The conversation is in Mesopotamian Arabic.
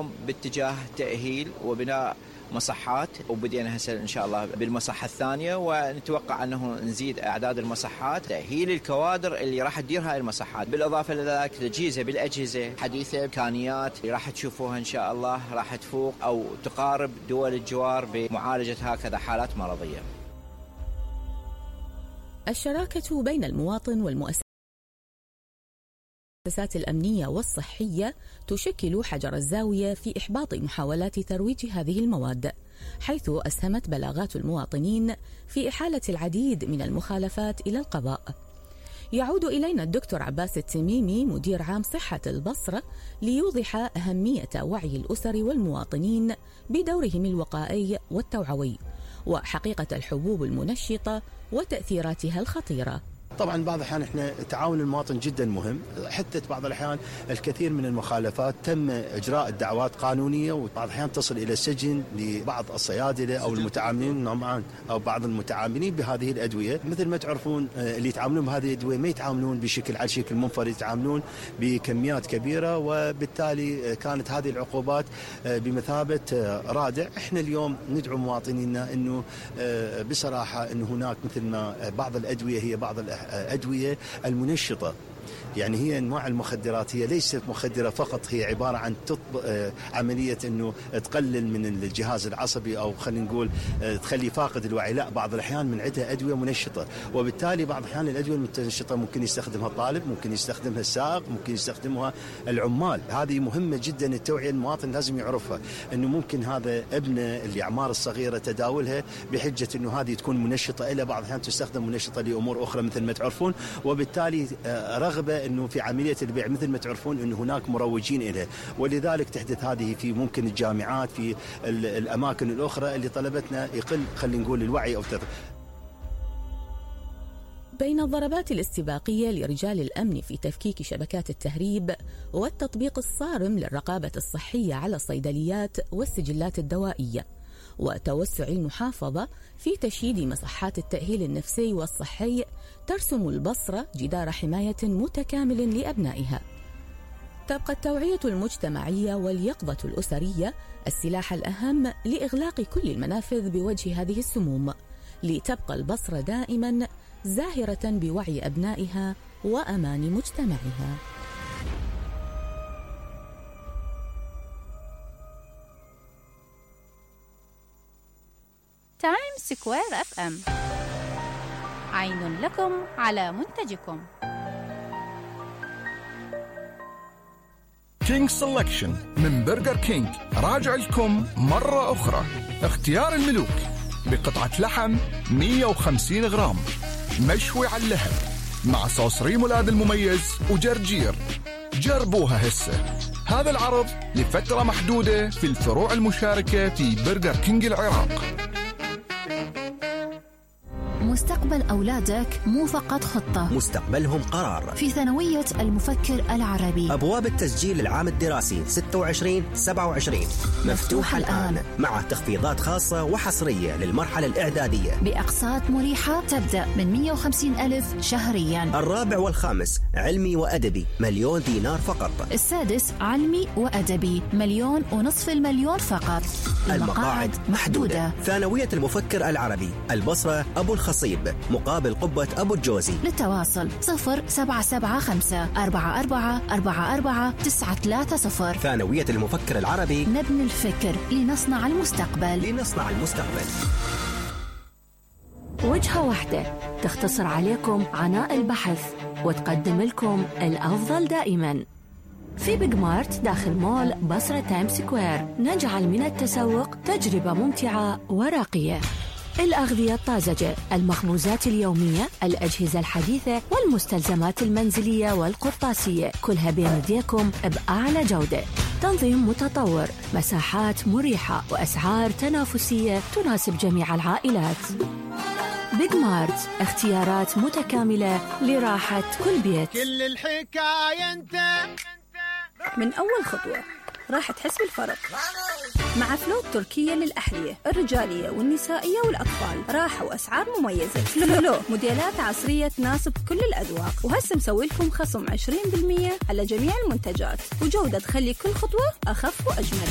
باتجاه تأهيل وبناء مصحات، وبدينا هسه إن شاء الله بالمصحة الثانية، ونتوقع أنه نزيد أعداد المصحات، تأهيل الكوادر اللي راح تدير هاي المصحات، بالإضافة لذلك تجهيزها بالأجهزة حديثة، إمكانيات راح تشوفوها إن شاء الله راح تفوق أو تقارب دول الجوار بمعالجة هكذا حالات مرضية. الشراكة بين المواطن والمؤسسات الأمنية والصحية تشكل حجر الزاوية في إحباط محاولات ترويج هذه المواد، حيث أسهمت بلاغات المواطنين في إحالة العديد من المخالفات إلى القضاء. يعود إلينا الدكتور عباس التميمي مدير عام صحة البصرة ليوضح أهمية وعي الأسر والمواطنين بدورهم الوقائي والتوعوي وحقيقة الحبوب المنشطة وتأثيراتها الخطيرة. طبعا بعض الأحيان احنا تعاون المواطن جدا مهم، حتى بعض الأحيان الكثير من المخالفات تم إجراء دعوات قانونية، وبعض الأحيان تصل إلى السجن لبعض الصيادلة أو المتعاملين معا أو بعض المتعاملين بهذه الأدوية. مثل ما تعرفون اللي يتعاملون بهذه الأدوية ما يتعاملون بشكل على شكل منفرد، يتعاملون بكميات كبيرة، وبالتالي كانت هذه العقوبات بمثابة رادع. احنا اليوم ندعو مواطنينا انه بصراحة انه هناك مثل ما بعض الأدوية هي بعض الأدوية المنشطة، يعني هي أنواع المخدرات هي ليست مخدرة فقط، هي عبارة عن عملية أنه تقلل من الجهاز العصبي أو خلينا نقول تخلي فاقد الوعي. لا، بعض الأحيان من عدة أدوية منشطة، وبالتالي بعض الأحيان الأدوية المنشطة ممكن يستخدمها الطالب، ممكن يستخدمها السائق، ممكن يستخدمها العمال. هذه مهمة جدا، التوعية المواطن لازم يعرفها، أنه ممكن هذا ابنه الأعمار الصغيرة تداولها بحجة أنه هذه تكون منشطة، إلى بعض الأحيان تستخدم منشطة لأمور أخرى مثل ما تعرفون، وبالتالي رغبة انه في عمليه البيع مثل ما تعرفون انه هناك مروجين لها، ولذلك تحدث هذه في ممكن الجامعات في الاماكن الاخرى اللي طلبتنا يقل خلينا نقول الوعي او بين الضربات الاستباقية لرجال الأمن في تفكيك شبكات التهريب والتطبيق الصارم للرقابة الصحية على الصيدليات والسجلات الدوائية، وتوسع المحافظة في تشييد مصحات التأهيل النفسي والصحي، ترسم البصرة جدار حماية متكامل لأبنائها. تبقى التوعية المجتمعية واليقظة الأسرية السلاح الأهم لإغلاق كل المنافذ بوجه هذه السموم، لتبقى البصرة دائما زاهرة بوعي أبنائها وأمان مجتمعها. تايم سكوير FM، عين لكم على منتجكم. كينج سيلكشن من برجر كينج راجع لكم مرة أخرى. اختيار الملوك بقطعة لحم 150 غرام مشوي على اللهب مع صوص ريمولاد المميز وجرجير. جربوها هسه. هذا العرض لفترة محدودة في الفروع المشاركة في برجر كينج العراق. مستقبل أولادك مو فقط خطة، مستقبلهم قرار. في ثانوية المفكر العربي أبواب التسجيل العام الدراسي 26-27 مفتوحة الآن، مع تخفيضات خاصة وحصرية للمرحلة الإعدادية بأقساط مريحة تبدأ من 150,000 شهريا. الرابع والخامس علمي وأدبي 1,000,000 دينار فقط. السادس علمي وأدبي 1,500,000 فقط. المقاعد محدودة. ثانوية المفكر العربي البصرة أبو الخصيب مقابل قبة أبو الجوزي. للتواصل 0775-4444-930. ثانوية المفكر العربي، نبني الفكر لنصنع المستقبل. لنصنع المستقبل. وجهة واحدة تختصر عليكم عناء البحث وتقدم لكم الأفضل دائما. في بيج مارت داخل مول بصرة تايم سكوير نجعل من التسوق تجربة ممتعة وراقية. الأغذية الطازجة، المخبوزات اليومية، الأجهزة الحديثة والمستلزمات المنزلية والقرطاسية، كلها بين يديكم بأعلى جودة. تنظيم متطور، مساحات مريحة وأسعار تنافسية تناسب جميع العائلات. بيج مارت، اختيارات متكاملة لراحة كل بيت. كل الحكاية انت من أول خطوة راح تحس بالفرق مع فلوت تركية للأحذية الرجالية والنسائية والأطفال. راحة وأسعار مميزة. فلو موديلات عصرية تناسب كل الأذواق، وهسه مسوي لكم خصم 20% على جميع المنتجات، وجودة تخلي كل خطوة أخف وأجمل.